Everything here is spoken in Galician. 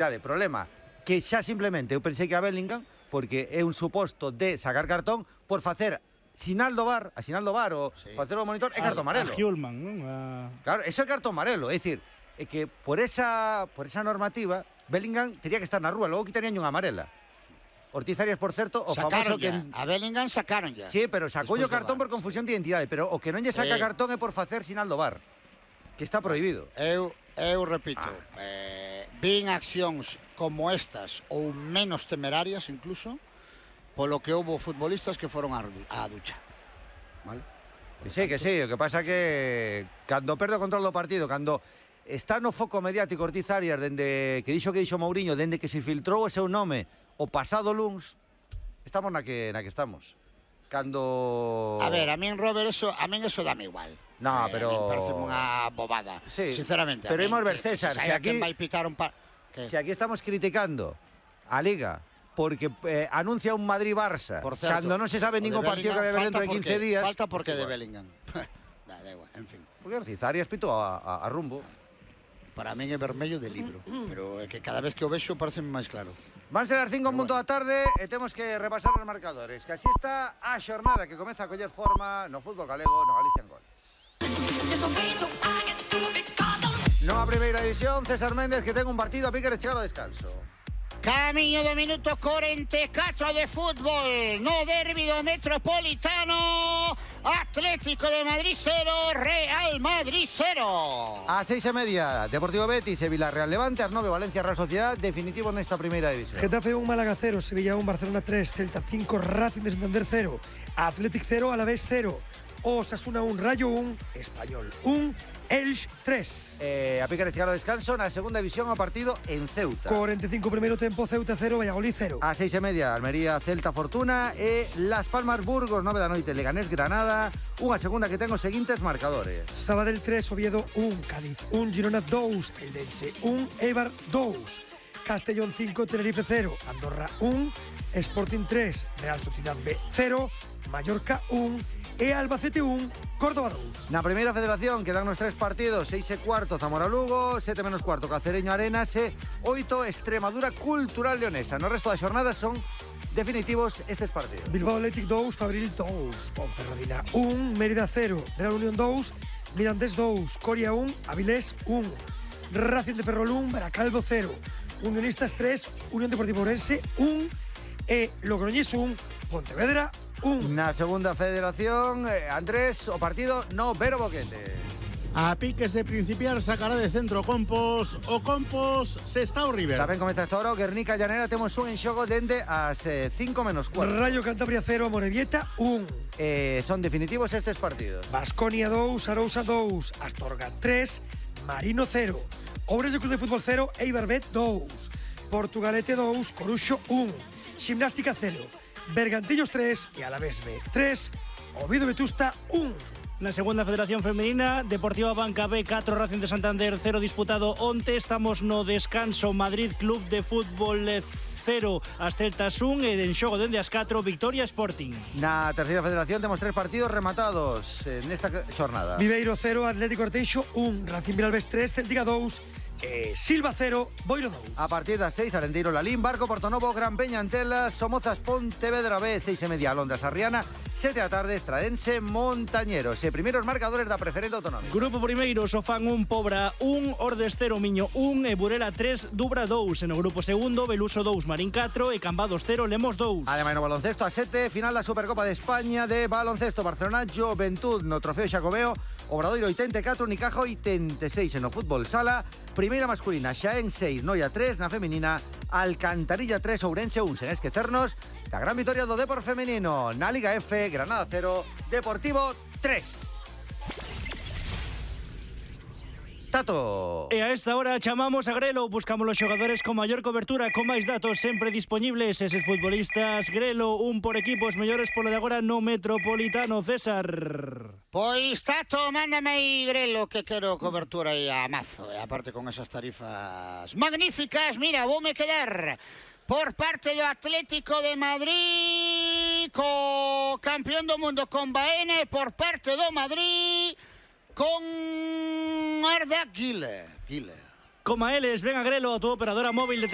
Problema que xa simplemente eu pensei que a Bellingham, porque é un suposto de sacar cartón por facer sinal do VAR ou facer o monitor é cartón amarelo. A Hjulman, non? Claro, eso é cartón amarelo, é dicir, é que por esa normativa Bellingham tería que estar na rúa, logo quitarían unha amarela. Ortiz Arias, por certo, o famoso que a Bellingham sacaron ya. Sí, pero sacou o cartón por confusión de identidade, pero o que non lle saca cartón é por facer sinal do VAR, que está prohibido. Eu repito, vin accións como estas ou menos temerarias incluso, polo que houbo futbolistas que foron á ducha. Vale? Que sí, o que pasa que cando perde o control do partido, cando está no foco mediático Ortiz Arias, dende que dixo Mourinho, dende que se filtrou o seu nome o pasado luns, estamos na que estamos. Cando... A ver, a min, Robert, eso dame igual. No, pero... A min parece unha bobada, sí, sinceramente. Pero imos ver, César, se aquí... Si aquí estamos criticando a Liga porque anuncia un Madrid-Barça cando non se sabe ningún partido que vai haber dentro de 15 días... Falta porque de Bellingham. Da igual, en fin. Porque Ortiz Arias pitou a rumbo. Para min é vermello de libro, pero é que cada vez que o vexo parece máis claro. Van ser as 5 en punto da tarde e temos que repasar os marcadores, que así está a xornada que comeza a coller forma no fútbol galego, no Galicia en Goles. No a primeira división, César Méndez, que ten un partido a pique de chegar ao descanso. Camiño do minuto 44 de fútbol no derbi do Metropolitano. Atlético de Madrid 0, Real Madrid 0. A 6:30, Deportivo Betis e Villarreal Levante. As 9, Valencia Real Sociedad. Definitivo nesta primeira división. Getafe 1, Málaga 0, Sevilla 1, Barcelona 3, Celta 5, Racing de Santander 0, Athletic 0, Alavés 0, Osasuna 1, Rayo 1, Español 1, Elx 3. A pique de chegar ao descanso na segunda división o partido en Ceuta. 45 primeiro tempo, Ceuta 0, Valladolid 0. A 6:30, Almería Celta Fortuna e Las Palmas Burgos, 9 da noite, Leganés Granada. Unha segunda que ten os seguintes marcadores. Sabadell 3, Oviedo 1, Cádiz 1, Girona 2, Eldense 1, Eibar 2, Castellón 5, Tenerife 0, Andorra 1, Sporting 3, Real Sociedad B 0, Mallorca 1 e Albacete 1, Córdoba 2. Na primeira federación quedan nos 3 partidos, 6:15 Zamora-Lugo, 7:15 Cacereño Arenas e 8 Extremadura Cultural Leonesa. No resto da xornada son definitivos estes partidos. Bilbao Athletic 2, Fabril 2, Ponferradina 1, Mérida 0, Real Unión 2, Mirandés 2, Coria 1, Avilés 1, Racing de Ferrol 1, Baracaldo 0, Unionistas 3, Unión Deportiva Ourense 1 e Logroñés 1, Pontevedra 1. Na segunda federación, Andrés, o partido no Vero Boquete. A piques de principiar sacará de centro Compos, o Compos se está o River. Tamén comeza esta hora o Guernica Llanera, temos un en xogo dende as 5:15. Rayo Cantabria 0, Amorebieta 1. Son definitivos estes partidos. Baskonia 2, Arousa 2, Astorga 3, Marino 0, Ourense Club de Fútbol 0, Eibar Bet 2, Portugalete 2, Coruxo 1, Gimnástica 0, Bergantillos 3 e Alavés B 3, Oviedo Vetusta 1. Na segunda federación femenina, Deportiva Banca B 4, Racing de Santander 0 disputado onte. Estamos no descanso, Madrid Club de Fútbol 0, as Celtas 1 e en xogo dende as 4, Victoria Sporting. Na terceira federación temos 3 partidos rematados nesta xornada. Viveiro 0, Atlético Orteixo 1, Racing Vilalbés 3, Celtica 2, Silva 0, Boiro 2. A partir das 6, Arenteiro Lalín, Barco Portonovo, Gran Peña Antelas, Somozas Pontevedra B, 6:30, Alondra Sarriana, 7 da tarde, Estradense Montañeros. E primeiros marcadores da preferente autonómica. Grupo primeiro, Sofán 1, Pobra 1, Ordes 0, Miño 1 e Burela 3, Dubra 2. E no grupo segundo, Beluso 2, Marín 4 e Cambados 0, Lemos 2. Ademais no baloncesto a 7, final da Supercopa de España de baloncesto, Barcelona Juventud no Trofeo Xacobeo, Obradoiro 84, Unicaja 86. E no fútbol sala, primeira masculina, Xaén 6, Noia 3, na feminina, Alcantarilla 3, Ourense 1. Sen esquecernos da gran vitoria do Depor femenino na Liga F, Granada 0, Deportivo 3. Tato. E a esta hora chamamos a Grelo, buscamos os xogadores con maior cobertura, con máis datos sempre disponibles. Eses futbolistas, Grelo, un por equipo, os mellores polo de agora no Metropolitano. César. Pois Tato, mándame aí Grelo, que quero cobertura aí a mazo. E aparte con esas tarifas magníficas, mira, voume quedar por parte do Atlético de Madrid co campeón do mundo con Baena, e por parte do Madrid con Arda Güler. Como a eles, ven a Grelo, a tu operadora móvil de